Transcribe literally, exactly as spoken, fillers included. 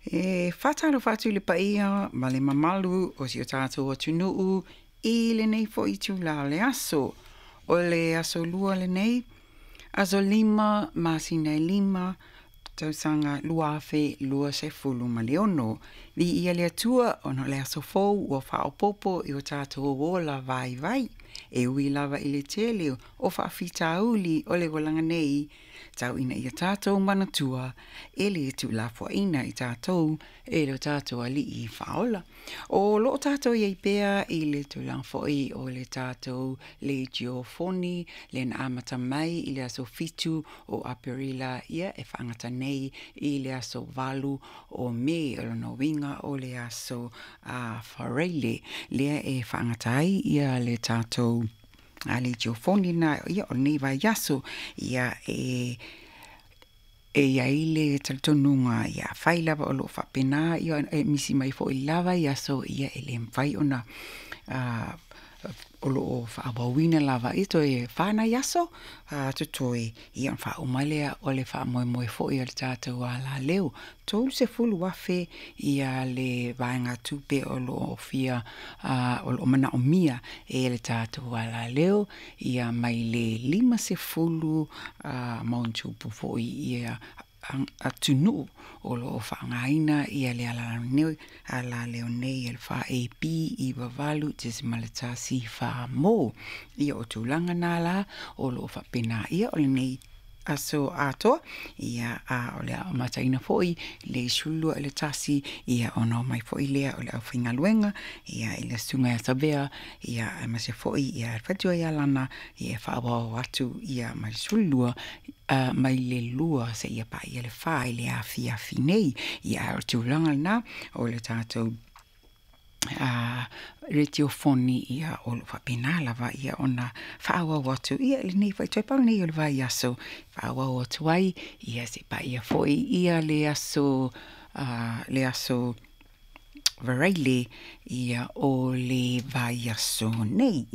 E faatalofa atu i le paia ma le mamalu o si o tatou atunuu i lenei fo'i itulā o le aso. O le aso Lua lenei, aso lima masina e lima, tausaga lua afe luasefulu ma le ono. Viia le Atua ona o le aso fou ua faaopoopo i o tatou ola vaivai. E ui lava i le tele o faafitauli o le olaga nei, tau ina ia tatou manatua e le tuulafoaiina i tatou e lo tatou Alii Faaola. O loo tatou iai pea i le tulaga foi o le tatou leitiofoni lea na amata mai i le aso fitu o Aperila ia e faagata nei i le aso valu o Me. O lona uiga o le aso a Faraile lea e faagata ai ia le tatou a leitiofoni na ia o lenei vaiaso ia e e i ai le talitonuga ia afai lava o loo faapena ia e misi mai foi le la vaiaso ia e le mafai ona o loo faaauauina lava ia toe fa nai aso totoe ia ona faauma lea o le faamoemoe foi o le tatou alaleo tolu sefulu afe ia le vaegatupe o loo fia o loo manaomia e le tatou alaleo ia mai le lima sefulu ma ona tupu foi ia atunuu o loo faaaogaina ia le alaleo nei e le fa A B iva valu tesimale tasi fa mo. Ia o tulaga na la o loo faapena ia o lenei aso atoa ia a o le amataina foi le sefululua i le tasi ia ona omai foi lea o le aufaigaluega ia i le susuga ia Savea ia aemaise foi ia le faletua ia Lana ia e faaauau atu ia mai le sefululua mai le lua seia paia le fa i le afiafi nei. Ia o le tulaga lena o le tatou a retiofoni ia o loo faapena lava ia ona faaauau atu ia lenei foi toe pau lenei o le vaiaso faaauau atu ai ia se paia foi ia le aso le aso Faraile ia o le vaiaso nei.